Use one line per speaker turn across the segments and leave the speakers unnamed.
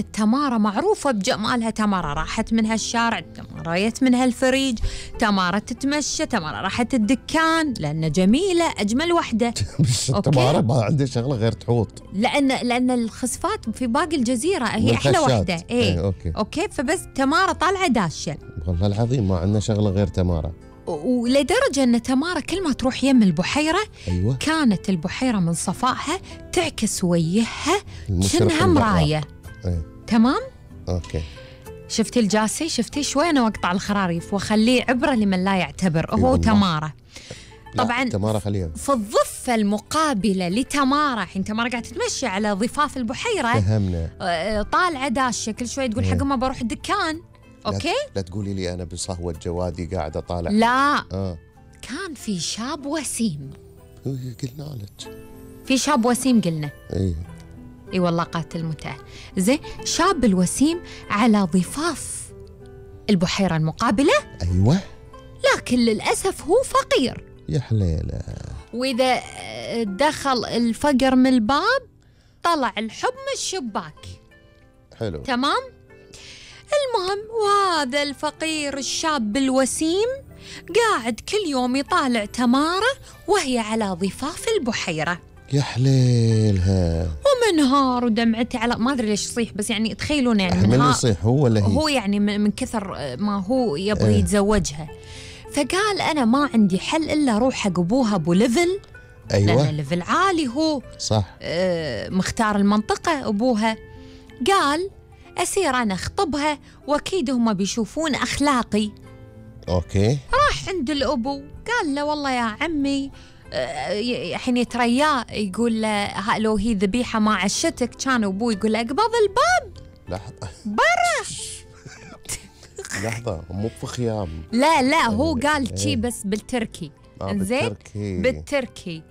تمارة معروفة بجمالها. تمارة راحت منها الشارع، تمارة جت منها الفريج، تمارة تتمشى، تمارة راحت الدكان لأن جميلة أجمل وحدة.
بس تمارة ما عندها شغلة غير تحوط،
لأن الخسفات في باقي الجزيرة هي أحلى وحدة. إيه أوكي فبس تمارة طالعة داشة.
والله العظيم ما عندنا شغلة غير تمارة.
ولدرجة أن تمارة كل ما تروح يم البحيرة
أيوة.
كانت البحيرة من صفائها تعكس وجهها شنها مراية. تمام؟
أوكي.
شفتي الجاسي؟ شفتي شوي أنا وأقطع الخراريف وأخليه عبرة لمن لا يعتبر. هو تمارة طبعا
تمارة خليها
في الضفة المقابلة لتمارة. حين تمارة قاعدة تتمشي على ضفاف البحيرة
فهمنا.
طالعة داشة كل شوي تقول حق ما بروح الدكان. أوكي؟
لا تقولي لي أنا بصهوة جوادي قاعدة طالع.
لا كان في شاب وسيم.
قلنا لك
في شاب وسيم قلنا.
اي
والله قاتل متعة. زين شاب الوسيم على ضفاف البحيرة المقابلة.
أيوة.
لكن للأسف هو فقير.
يا حليلة.
وإذا دخل الفقر من الباب طلع الحب من الشباك.
حلو.
تمام. المهم وهذا الفقير الشاب الوسيم قاعد كل يوم يطالع تمارة وهي على ضفاف البحيرة.
يا حليلها.
ومنهار ودمعته على ما أدري ليش يصيح، بس يعني تخيلون يعني
من يصيح هو ولا هي؟
هو يعني من كثر ما هو يبغي يتزوجها. فقال أنا ما عندي حل إلا أروح حق أبوها أبو ليفل.
أيوة.
لأن ليفل عالي هو
صح.
مختار المنطقة أبوها. قال أسير أنا أخطبها وأكيد هم بيشوفون أخلاقي.
أوكي.
راح عند الأبو قال له والله يا عمي حين يترياه يقول له لو هي ذبيحة ما عشتك. كان أبوه يقول له اقبض الباب.
لحظة
برا.
لحظة مو بخيام.
لا هو قال شي بس بالتركي.
زين
بالتركي.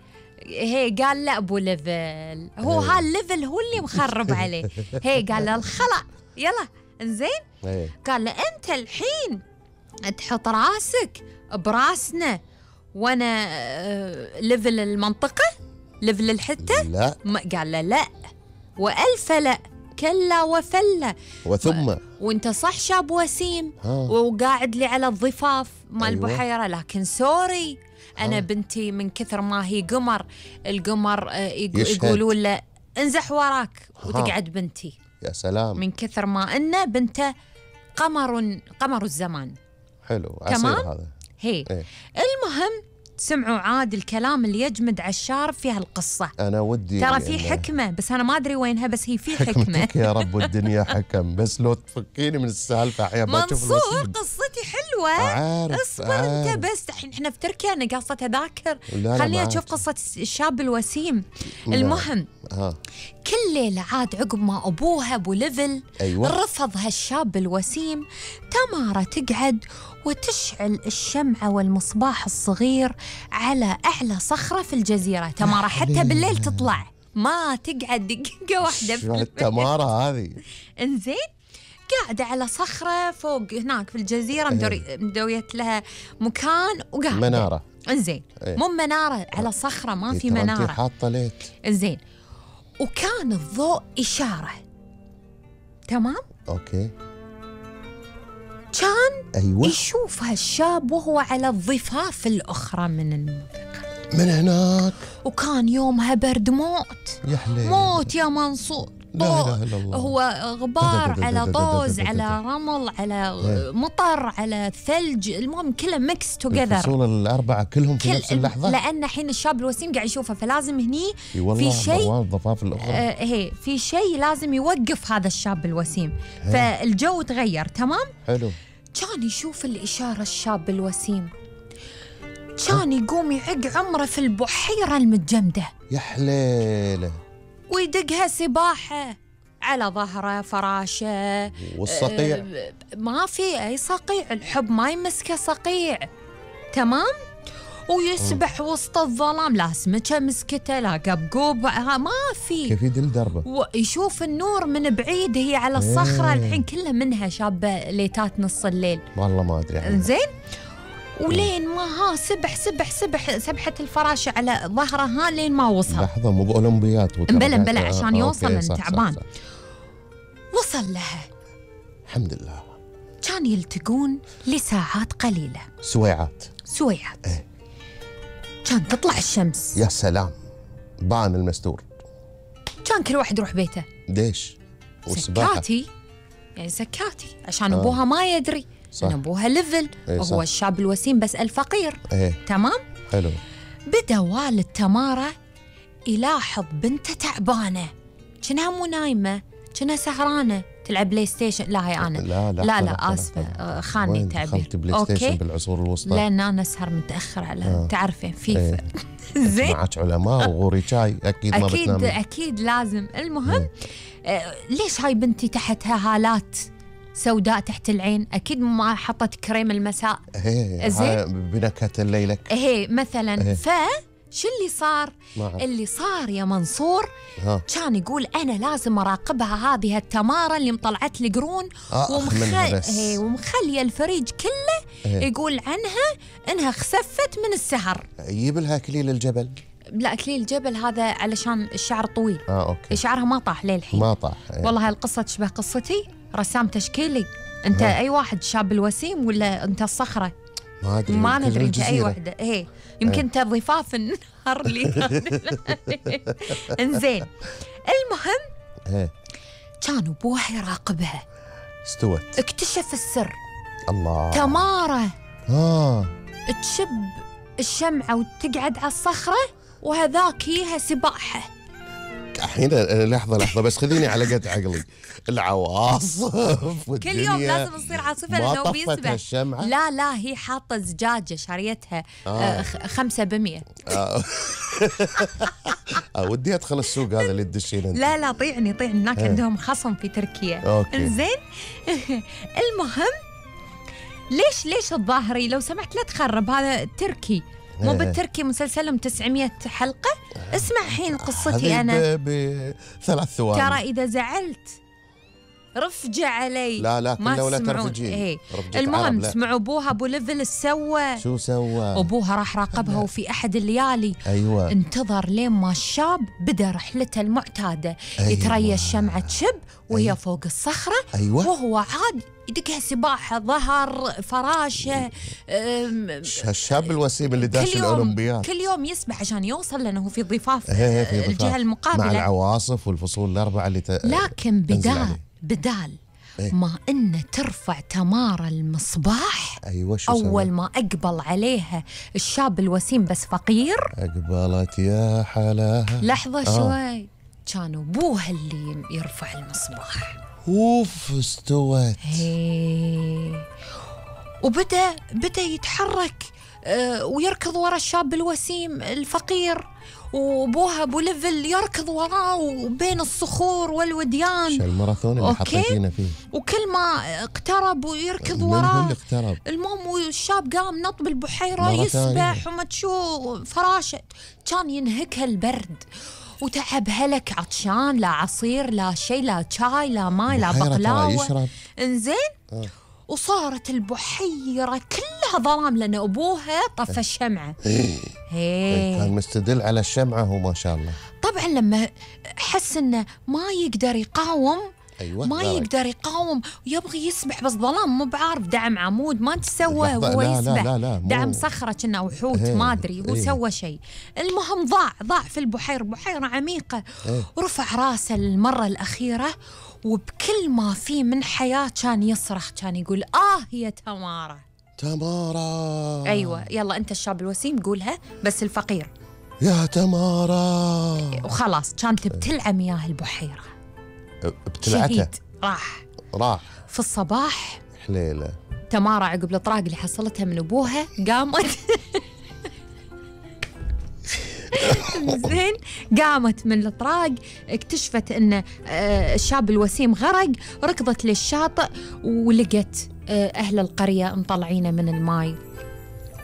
هي قال لا أبو ليفل هو هالليفل هو اللي مخرب عليه. هي قال له الخلع يلا زين. قال له أنت الحين تحط راسك براسنا وانا ليفل المنطقة ليفل الحتة.
لا
قال له لا وألف لا كلا وفلا
وثم
وانت صح شاب وسيم وقاعد لي على الضفاف مال البحيرة. لكن سوري أنا بنتي من كثر ما هي قمر القمر يقولون له انزح وراك وتقعد بنتي.
يا سلام.
من كثر ما إنه بنته قمر الزمان.
حلو.
تمام
هذا
هي. المهم سمعوا عاد الكلام اللي يجمد على الشارب في هالقصة.
أنا ودي
ترى في حكمة بس أنا ما أدري وينها، بس هي في حكمة.
يا رب والدنيا حكم. بس لو تفكيني من السالفة أحيانا ما تشوف
منصور قصتي حلوة.
عارف
اصبر أنت بس الحين إحنا في تركيا أنا قاصة أذاكر. خلينا نشوف قصة الشاب الوسيم. المهم كل ليلة عاد عقب ما أبوها أبو ليفل رفض هالشاب الوسيم تمارة تقعد وتشعل الشمعة والمصباح الصغير على أعلى صخرة في الجزيرة. تمارة حتى بالليل تطلع ما تقعد دقيقة واحدة في
تمارة هذه.
انزين قاعدة على صخرة فوق هناك في الجزيرة مدويت لها مكان وقاعدة
منارة.
انزين مو منارة على صخرة ما في منارة.
حاطة ليت.
انزين وكان الضوء إشارة. تمام.
أوكي.
كان يشوف هالشاب وهو على الضفاف الأخرى من المنطقة
من هناك.
وكان يومها برد موت.
يا حليل.
موت يا منصور.
لا إله إلا الله.
هو غبار على طوز على رمل على مطر على ثلج. المهم كله ميكس توجذر.
الفصول الأربعة كلهم في نفس اللحظة.
لأن حين الشاب الوسيم قاعد يشوفه فلازم هني
في
شيء
الضفاف الأخرى.
هي في شيء لازم يوقف هذا الشاب الوسيم. فالجو تغير. تمام.
حلو.
كان يشوف الإشارة الشاب الوسيم كان يقوم يعق عمره في البحيرة المتجمدة.
يا حليله.
ويدقها سباحة على ظهره فراشة.
والصقيع
ما في أي صقيع. الحب ما يمسكه صقيع. تمام. ويسبح وسط الظلام لا سمكة مسكته لا قبقوب ما في.
كيف يدل دربه.
ويشوف النور من بعيد هي على الصخرة. الحين كلها منها شابة ليتات نص الليل.
والله ما أدري.
زين ولين ما سبح سبحت الفراشة على ظهرها لين ما وصل.
لحظة مو بأولمبيات
بلا عشان يوصل لأن تعبان. وصل لها
الحمد لله.
كان يلتقون لساعات قليلة.
سويعات.
إيه؟ كان تطلع الشمس.
يا سلام، بان المستور.
كان كل واحد يروح بيته.
ليش؟
سكاتي، يعني سكاتي عشان أبوها ما يدري. صح. إن أبوها ليفل. وهو الشاب الوسيم بس الفقير. تمام؟
حلو.
بدأ والد تمارا يلاحظ بنته تعبانة، كأنها مو نايمة، كأنها سهرانة تلعب بلاي ستيشن. لا هي أنا لا آسفة، خاني التعبير.
دخلت بلاي ستيشن بالعصور الوسطى؟
لأن أنا أسهر متأخر على تعرفين فيفا.
زين. معك علماء وغوري شاي أكيد ما بتنامين.
أكيد لازم. المهم ليش هاي بنتي تحتها هالات سوداء تحت العين؟ أكيد ما حطت كريم المساء.
زين. بنكهة الليلة.
مثلا. شو اللي صار؟ اللي صار يا منصور كان يقول أنا لازم أراقبها هذه التمارة اللي مطلعت لي قرون ومخلية الفريج كله يقول عنها إنها خسفت من السهر.
يجيب لها أكليل الجبل.
لا، أكليل الجبل هذا علشان الشعر طويل.
أوكي.
شعرها ما طاح للحين.
ما طاح.
والله هالقصة تشبه قصتي. رسام تشكيلي. أنت أي واحد، شاب الوسيم ولا أنت الصخرة؟ ما ندري انت اي وحده. يمكن انت ضفاف النهر لي. انزين. المهم كان ابوها يراقبها.
استوت.
اكتشف السر.
الله.
تمارا تشب الشمعة وتقعد على الصخرة وهذاك يها سباحة.
الحين لحظة بس خذيني على قد عقلي. العواصف
كل يوم لازم تصير عاصفة لأنه بيسبح.
الشمعة؟
لا هي حاطة زجاجة شاريتها 500.
ودي أدخل السوق هذا اللي تدشين أنت.
لا طيعني هناك عندهم خصم في تركيا. إنزين. المهم ليش الظاهري لو سمحت لا تخرب، هذا تركي مو بالتركي مسلسلهم 900 حلقة. اسمع حين قصتي أنا
ب3 ثواني.
ترى إذا زعلت رفجة علي.
لا كله ولا ترفجين.
المهم اسمعوا أبوها أبو ليفل شو سوى؟ أبوها راح راقبها وفي أحد الليالي انتظر لين ما الشاب بدأ رحلته المعتادة. يتريى الشمعة تشب وهي فوق الصخرة. وهو عاد يدقها سباحة، ظهر، فراشة.
الشاب الوسيم اللي داش الأولمبياد
كل يوم يسبح عشان يوصل لأنه في ضفاف الجهة المقابلة
مع العواصف والفصول الأربعة اللي
لكن بدال ما إنه ترفع تمارا المصباح. أول ما أقبل عليها الشاب الوسيم بس فقير.
أقبلت يا حلاها.
لحظة شوي. كان أبوها اللي يرفع المصباح.
استوت.
وبدأ يتحرك ويركض ورا الشاب الوسيم الفقير، وابوها ابو ليفل يركض وراه وبين الصخور والوديان.
الماراثون اللي حطيتينا فيه.
وكل ما اقترب ويركض وراه. المهم الشاب قام نط بالبحيرة يسبح وما تشوف فراشة. كان ينهكها البرد وتعب هلك، عطشان، لا عصير لا شيء، لا شاي لا ماي لا بقلاوة. انزين. وصارت البحيرة كلها ظلام لأن أبوها طفى الشمعة.
كان مستدل على الشمعة هو ما شاء الله.
طبعا لما حس إنه ما يقدر يقاوم. ما يقدر يقاوم، يبغي يسبح بس ظلام، مو بعارف دعم عمود ما تسوى وهو يسبح.
لا
دعم صخرة كنا أو حوت ما أدري هو سوى شيء. المهم ضاع في البحيرة، بحيرة عميقة. رفع راسه للمرة الأخيرة وبكل ما فيه من حياة كان يصرخ، كان يقول يا تمارا. أيوة يلا أنت الشاب الوسيم قولها بس الفقير.
يا تمارا.
وخلاص كانت بتلعى مياه البحيرة.
ابتلعته.
راح في الصباح.
حليلة.
تمارا عقب الإطراق اللي حصلتها من أبوها قامت. زين. قامت من الإطراق، اكتشفت أن الشاب الوسيم غرق، ركضت للشاطئ ولقت أهل القرية مطلعينه من الماي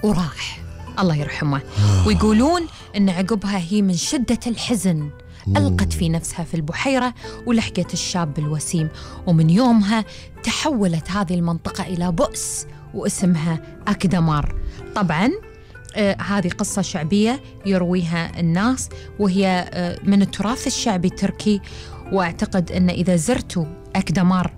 وراح الله يرحمه. ويقولون أن عقبها هي من شدة الحزن ألقت في نفسها في البحيرة ولحقت الشاب الوسيم. ومن يومها تحولت هذه المنطقة إلى بؤس واسمها أكدمار. طبعاً هذه قصة شعبية يرويها الناس وهي من التراث الشعبي التركي. وأعتقد أن إذا زرتوا أكدمر.